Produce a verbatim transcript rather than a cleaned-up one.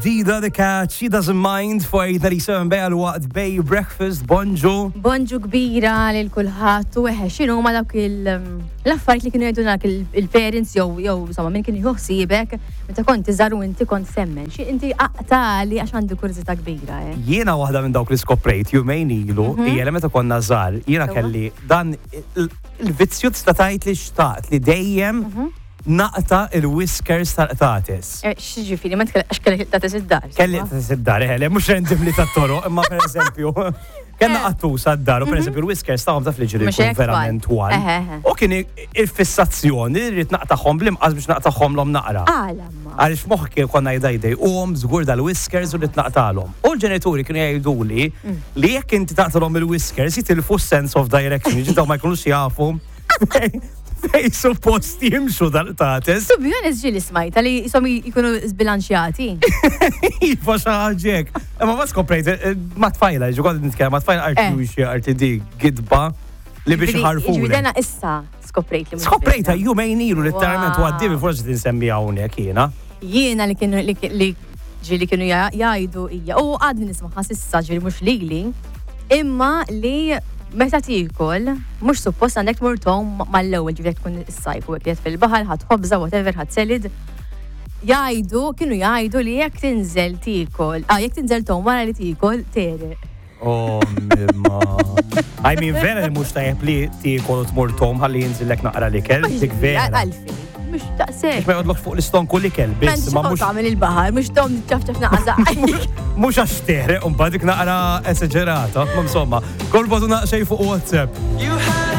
Dida the cat, she doesn't mind for eight thirty-seven bej għal-waqt Bay Breakfast, bonġu. Bonġu kbira lil kulħadd u eħe, x'inhu ma dawk il- l-affarijiet li kienu jgħidu dak il-parents jew jew insomma min kien jieħu ħsiebek meta kont iżgħar u inti kont temmen. Xi inti aqtali għax għandi kurżità kbira, eh. Jiena waħda minn dawk li skoprejt jumejn ilu, hija li meta konna żgħar, jiena Sewwa. kelli dan il- il-vizzju, tista' tgħid li xtaqt li dejjem naqta' il-whiskers tal-qtates. Eh, X'ġifieri, ma tkellem għax kellek qtates id-dar. Kelli qtates id-dar, eh, le, mhux randomly tat-toroq, imma per eżempju, kellna qattusa d-dar, u per eżempju il-whiskers tagħhom taf li ġiri Mhux jkun hekk verament twal. twal. Eħe, eħe. U kien il-fissazzjoni li rrid naqtagħhom bl-imqas biex naqtagħhom naqra. Għala ma. Għalix moħħi konna jdajdej u għom żgur dal-whiskers u li tnaqtalhom. U l-ġenituri kienu jgħiduli li jekk inti taqtalhom il-whiskers jitilfu sense of direction, ġidaw ma jkunux jafu fej- fej suppost jimxu dal-qtates. To be honest, ġieli smajta li jisom jkunu zbilanċjati. Iva, xaħġek. Imma ma skoprejt, eh, ma tfajla, ġu kont nitkellem ma tfajla Eh. arti xie arti di gidba li biex ħarfu. Ġifieri dana issa skoprejt li mhux Skoprejta vera. jumejn ilu literalment u Wow. għaddibi forsi tinsemmi hawnhekk jiena. Jiena li kienu li li ġieli kienu ja- jgħidu hija u għadni nisma' s'issa, ġieli mhux lili, imma li meta tiekol mhux suppost għandek tmur tgħum mal-ewwel, ġifieri tkun is-sajf u hekk fil-baħar ħadd ħobża, whatever, ħadd salad. Jgħidu, kienu jgħidu li jekk tinżel tiekol, ah, jekk tinżel tgħum wara li tiekol, tegħreq. Oh, mimma. I mean, vera li mhux tajjeb li tiekol u tmur tgħum ħalli jinżillek naqra l-ikel, dik vera. Għalfejn, mhux daqshekk. Ma jgħodlok fuq l-istonku l-ikel, biss, ma mhux tagħmel il-baħar, mhux tgħum ċaf ċaf naqra. Mhux għax teħreq, un dik naqra esagerata, ma insomma, kolbatu naqxej fuq WhatsApp.